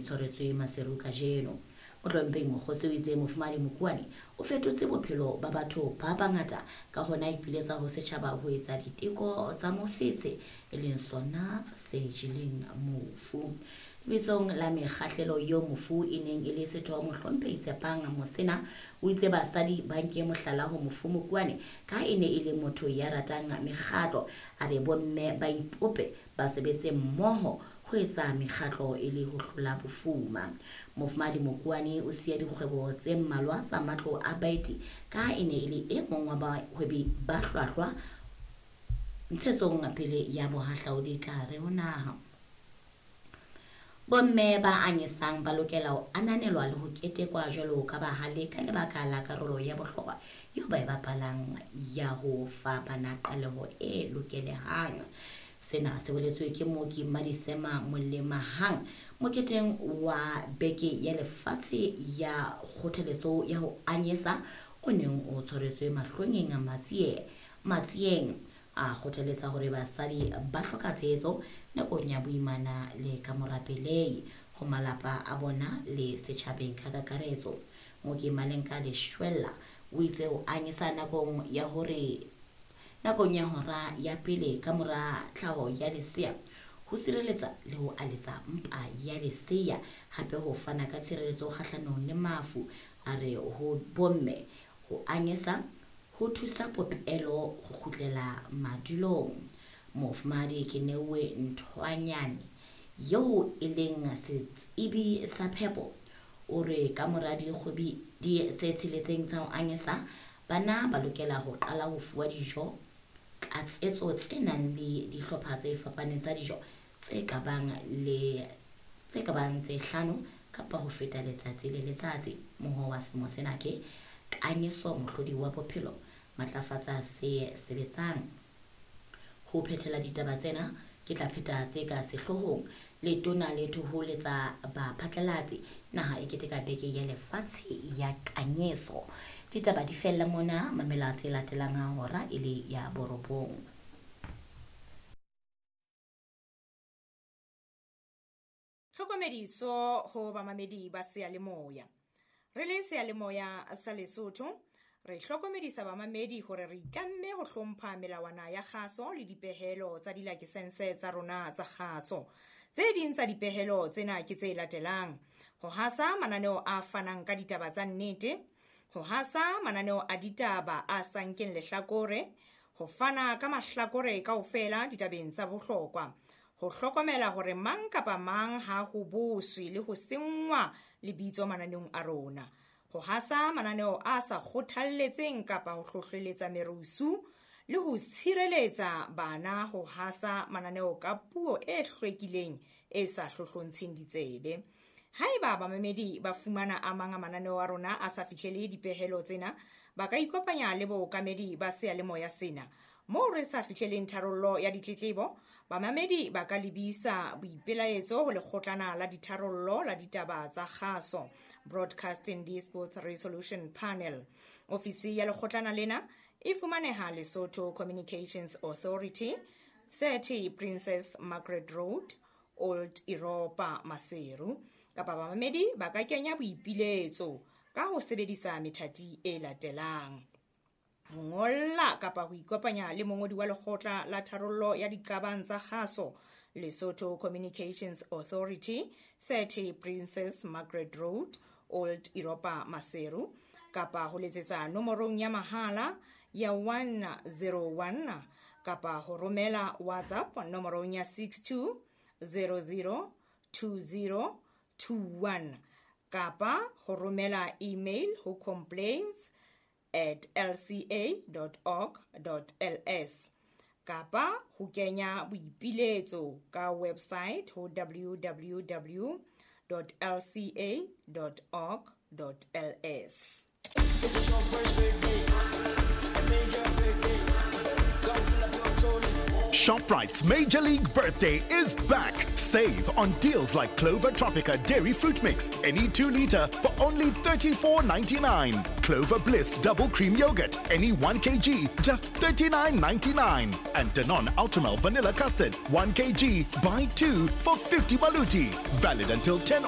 tshwaretswe Maseru kajeno. Mohlomphehi Mokgosi o itse Mofumahadi Mokuane o fetotse bophelo ba batho ba bangata ka hona a ipiletsa ho setjhaba ho etsa diteko tsa mofetshe e leng sona se jeleng mofu. Lebitsong la mekgahlelo eo mofu e neng e le setho, Mohlomphehi Tshepang Mosena o itse basadi ba nke mohlala ho mofu Mokuane ka e ne e le motho ya ratang mekgatlo. A re bomme ba ipope ba sebetse mmoho ho etsa mekgatlo e le ho hlola bofuma. Mofumahadi Mokuane o siya dikgwebo tse mmalwa tsa matlo a baeti ka e ne e le e mong wa bahwebi ba hlwahlwa ntshetsong pele ya bohahlaudi ka hare ho naha. Bomme ba anyesang ba lokela ho ananelwa le ho ketekwa jwalo ka bahale ka lebaka la karolo ya bohlokwa eo ba e bapalang ya ho fa bana qaleho e lokelehang. Sena se boletswe ke mooki Madisema Molemahang moketeng wa Beke ya Lefatshe ya Kgothaletso ya ho Anyesa o neng o tshwaretswe Mahlongeng Matsieng. A kgothaletsa hore basadi ba hloka tshehetso nakong ya boimana le kamora pelehi ho malapa a bona le setjhabeng ka kakaretso. Mooki Malenka Leshwella o itse ho anyesa nakong ya hore nakong ya hora ya pele kamora tlhaho ya lesea ho sireletsa le ho aletsa mpa ya lesea, hape ho fana ka tshireletso kgahlanong le mafu. A re ho bomme ho anyesa ho thusa popelo ho kgutlela madulong. Mofumahadi Keneuwe Nthwanyane eo e leng setsebi sa phepo o re kamora dikgwedi tse tsheletseng tsa ho anyesa, bana ba lokela ho qala ho fuwa dijo tlatsetso tse nang le dihlopha tse fapaneng tsa dijo tse ka bang le tse ka bang tse hlano kapa ho feta letsatsi le letsatsi. Mohoo wa selemo sena ke Kanyeso mohlodi wa bophelo, matlafatsa se sebetsang. Ho phethela ditaba tsena ke tla pheta tse ka sehloohong. Letona le thoholetsa baphatlalatsi, naha e keteka beke ya lefatshe ya kanyeso. Ditaba di fella mona, mamela tse latelang ha hora e le ya borobong. Tlhokomediso ho bamamedi ba seyalemoya. Re le seyalemoya sa Lesotho, re hlokomedisa bamamedi hore re itlamme ho hlompha melawana ya kgaso le dipehelo tsa dilakesense tsa rona tsa kgaso. Tse ding tsa dipehelo tsena ke tse latelang: ho hasa mananeo a fanang ka ditaba tsa nnete, ho hasa mananeo a ditaba a sa nkeng lehlakore, ho fana ka mahlakore kaofela ditabeng tsa bohlokwa, ho hlokomela hore mang kapa mang ha ho boswe le ho senngwa lebitso mananeong a rona, ho hasa mananeo a sa kgothalletseng kapa ho hlohleletsa merusu le ho tshireletsa bana ho hasa mananeo ka puo e hlwekileng e sa hlohlontsheng ditsebe. Haeba bamamedi ba fumana a mang a mananeo a rona a sa fihlele dipehelo tsena, ba ka ikopanya le bookamedi ba seyalemoya sena. Moo re sa fihleleng tharollo ya ditletlebo, bamamedi ba ka lebisa boipelaetso ho lekgotlana la ditharollo la ditaba tsa kgaso, Broadcasting Disputes Resolution Panel. Ofisi ya lekgotlana lena e fumaneha Lesotho Communications Authority, 30 Princess Margaret Road, Old Europa, Maseru. Kapa bamamedi ba ka kenya boipiletso ka ho sebedisa methati e latelang: ho ngolla kapa ho ikopanya le mongodi wa lekgotla la tharollo ya diqabang tsa kgaso, Lesotho Communications Authority, 30 Princess Margaret Road, Old Europa, Maseru, kapa ho letsetsa nomorong ya mahala ya 101 kapa ho romela WhatsApp nomorong ya 62 00 20 21 kapa ho romela email ho complaints@lca.org.ls kapa ho kenya boipiletso ka website ho www.lca.org.ls. It's a short birthday, a major birthday. Go fill up your trolley. ShopRite's Major League Birthday is back. Save on deals like Clover Tropica Dairy Fruit Mix, any 2 liter for only $34.99. Clover Bliss Double Cream Yogurt, any 1 kg, just $39.99. And Danone Ultramel Vanilla Custard, 1 kg, buy 2 for 50 baluti. Valid until 10